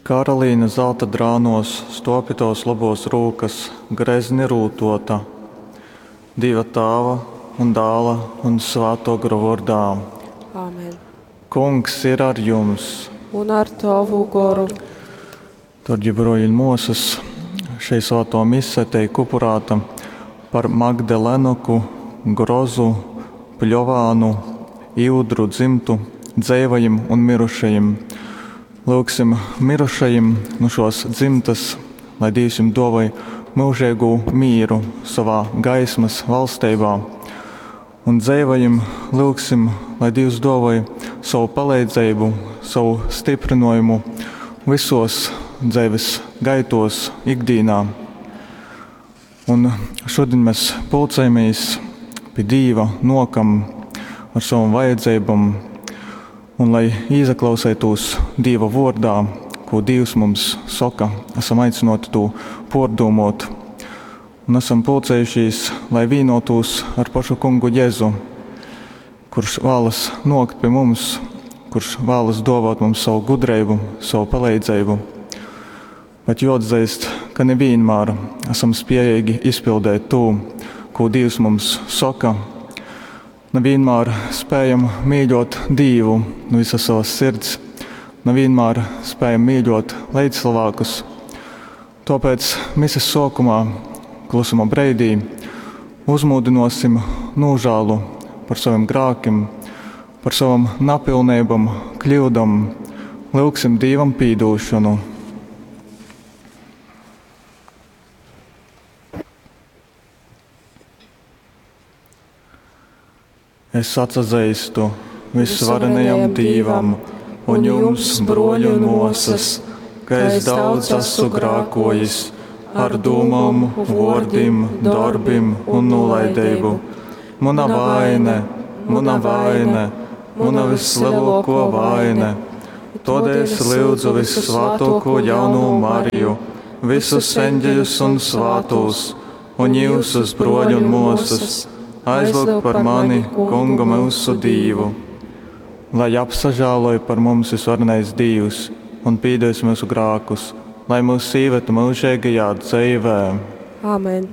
Karalīne zalta drānuos stuov pi tovas lobuos rūkas, grezni rūtuota. Dīva Tāva un Dāla un Svātuo Gora vuordā. Āmen. Kungs ir ar jums! Un ar tovu goru. Dārgie broļi un muosas, šei svātuo mise teik upurāta par Magdalenoku, Grozu, Pļovānu, Ivdru dzymtu dzeivajim un mirušajim. Lyugsim mirušajim nu šuos dzymtys, lai Dīvs jim duovoj myužeigū mīru sovā gaismys valsteibā. Un dzeivajim lyugsim, lai Dīvs duovoj sovu paleidzeibu, sovu styprynuojumu vysuos dzeivis gaituos, ikdīnā. Un šudiņ mes pulcējamies pi Dīva, nuokam ar sovom vajadzeibom, un lai īsaklauseitūs Dīva vuordā, kū Dīvs mums soka, esam aicynuoti tū puordūmuot. Un esam pulcējušīs, lai vīnuotūs ar pašu Kungu Jezu, kurš vālas nuokt pi mums, kurš vālas duovāt mums savu gudreibu, savu paleidzeibu. Bet juoatzeist, ka ne vīnmār esam spiejeigi izpildēt tū, kū Dīvs mums soka. Ne vīnmār spējam mīļuot Dīvu nu visas savas sirds, ne vīnmār spējam mīļuot leidzcylvākus. Tuopēc mises suokumā, klusuma breidī, uzmūdynuosim nūžālu par sovim grākim, par sovom napilneibom, kļūdom, lyugsim Dīvam pīdūšonu. Es atsazeistu visvarenajam Dīvam un jums, bruoļi un muosas, ka es daudz esmu grākojis ar dūmom, vuordim, dorbim un nūlaideibu. Muna vaine, muna vaine, muna vislielāko vaine. Todēļ es lyudzu vissvātāko jaunū Mariju, visus eņģeļus un svātūs, un jūsus, bruoļi un muosas, aizlūgt par mani Kungu myusu Dīvu. Lai apsažāloj par mums visvarenais Dīvs un pīdos myusu grākus, lai mūs īvetu myužeigajā dzeivē. Āmen.